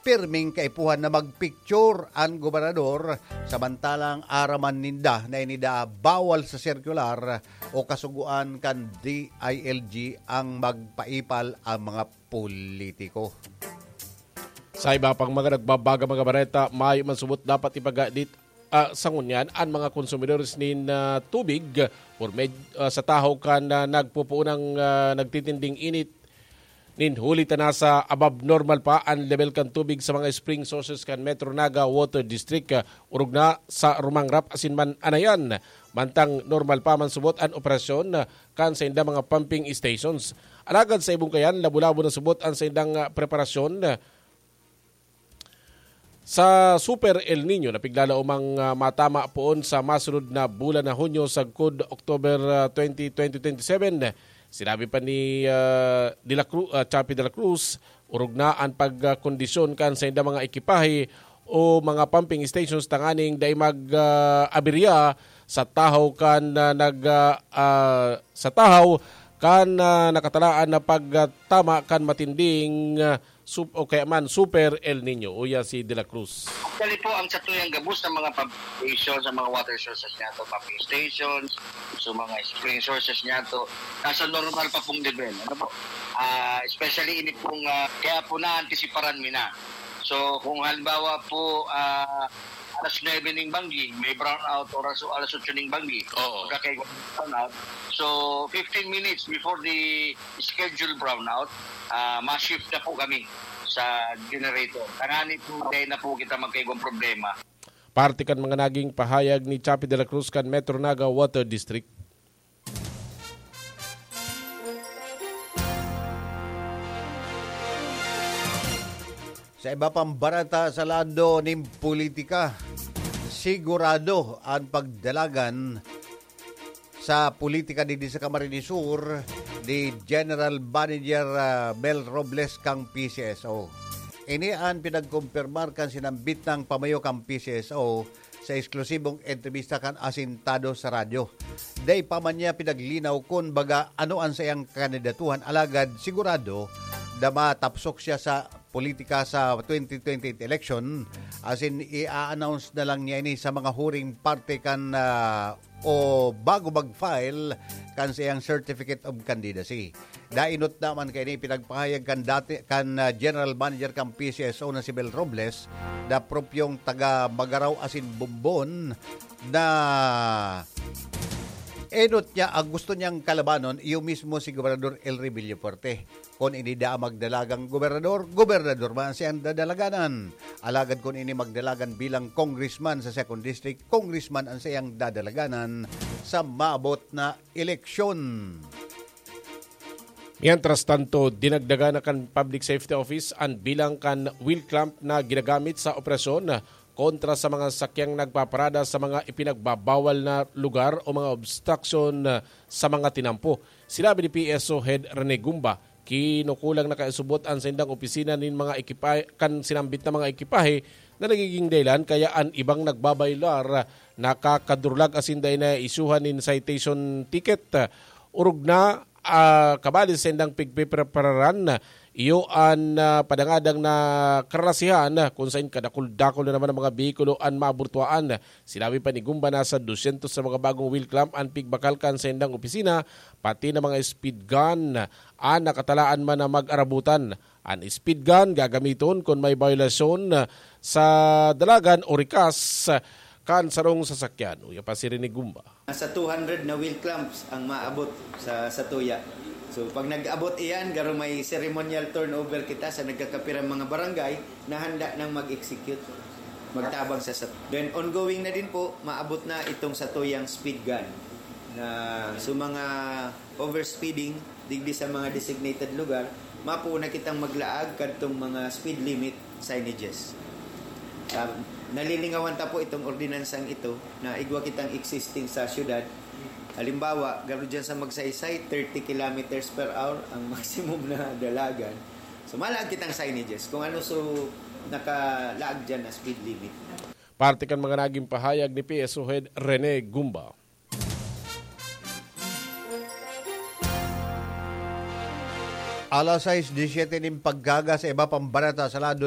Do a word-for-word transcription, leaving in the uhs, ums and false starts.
pirming kaipuhan na magpicture an gobernador, samantalang araman ninda na ini daa bawal sa sirkular o kasugoan kan D I L G ang magpaipal ang mga politiko. Sa iba pang mga nagbabaga mga bareta, mayo man subot dapat ipagadit, ah, sa ngunyan an mga konsumidores nin, ah, tubig por med-, ah, sa tahaw kan, ah, nagpupuunang, ah, nagtitinding init nin huli ta nasa above normal pa an level kan tubig sa mga spring sources kan Metro Naga Water District, ah, orog na sa Rumangrap asin man Anayan. Mantang normal pa man subot an operasyon, ah, kan sainda mga pumping stations. Alagad sa ibong kayan, labo-labo na subot an saindang, ah, preparasyon, ah, sa Super El Niño na piglalaomang, ah, matama poon sa masunod na bulan na Hunyo sagkod October, ah, twenty twenty-seven. Sinabi pa ni, ah, De La Cru-, ah, Chappie de la Cruz, orog na an pagkondisyon kan sainda mga ekipahe o mga pumping stations tanganing dai mag, ah, aberya sa tahaw kan, ah, nag, ah, ah, sa tahaw kan, ah, nakatalaan na pagtama kan matinding, ah, sup-, o kaya man Super El Niño, uya si De La Cruz. Actually po, ang satuyang gabos na mga pump station, sa mga water sources niya to, pumping stations, so mga spring sources niya to, nasa normal pa pong level. Ano po? Ah, especially ini pong, ah, kaya po naantisiparan mi na. So, kung halimbawa po, ah, alas nuebe ning banggi, may brownout, oras o alas otso ning banggi. Oo. Pagka kay brownout. So, fifteen minutes before the scheduled brownout, ah, ma-shift na po kami sa generator. Tangani po, dahil na po kita magkaigwang problema. Parte kan mga naging pahayag ni Chappie de la Cruz kan Metro Naga Water District. Sa iba pang bareta sa lado nin politika, sigurado an pagdalagan sa politika digdi sa Camarines Sur ni General Manager, ah, Mel Robles kan P C S O. Ini an pinagkumpirmar kan sinambit nang pamayo kan P C S O sa eksklusibong entrebista kan Asintado sa Radyo. Dai pa man niya pinaglinaw kun baga ano an saiyang kandidatuhan, alagad sigurado na matapsok siya sa politika sa twenty twenty-eight election, asin i-announce na lang niya ini sa mga huring parte kan, ah, o bago mag-file kan saiyang Certificate of Candidacy. Dainot naman kaini pinagpahayag kan dati, kan, ah, General Manager kan P C S O na si Mel Robles, na propyong taga Magarao asin Bombon, na enot niya, ang gusto niyang kalabanon, iyo mismo si Gobernador Elry Villafuerte. Kun ini daa magdalagang gobernador, gobernador man siyang dadalaganan. Alagad kun ini magdalagan bilang congressman sa second district, congressman ang siyang dadalaganan sa maabot na eleksyon. Mientras tanto, dinagdagan na kan Public Safety Office an bilang kan wheel clamp na ginagamit sa operasyon kontra sa mga sakyang nagpaparada sa mga ipinagbabawal na lugar o mga obstruction sa mga tinampo. Sinabi ni P S O Head Rene Gumba, kinukulang na kaisubot an saindang opisina nin mga ekipahe, kan sinambit na mga ekipahe na nagiging dahilan kaya an ibang nagbabaylar nakakadurlag asin dai na isyuhan nin citation ticket. Orog na, ah, kabali sa indang pigpiprepararan, iyo an, ah, padangadang na karalasihan, kun sain kadakul-dakul na naman ang mga behikulo an maburtuaan. Sinabi pa ni Gumba, nasa dusyentos sa mga bagong wheel clamp an pigbakal kan sa indang opisina, pati na mga speed gun an nakatalaan man na mag-arabutan. An speed gun gagamiton kun may bayolasyon sa dalagan o rikas kan sarong sasakyan. Uya pa si Rene Gumba. Nasa two hundred na wheel clamps ang maabot sa satuya. So, pag nag-abot iyan, garo may ceremonial turnover kita sa nagkakapirang mga barangay na handa nang mag-execute, magtabang sa sat-, then, ongoing na din po, maabot na itong satuyang speed gun na, so, mga overspeeding digdi sa mga designated lugar, mapuuna kitang maglaag kadtong mga speed limit signages. Ah, nalilingawan ta po itong ordinansang ito na igwa kitang existing sa syudad. Halimbawa, garo dyan sa Magsaysay, thirty kilometers per hour ang maximum na dalagan. So, malaag kitang signages kung ano so nakalaag dyan na speed limit. Parte kan mga naging pahayag ni P S O Head Rene Gumba. Alas sais disiyete nin pagkaga. Sa iba pang bareta sa lado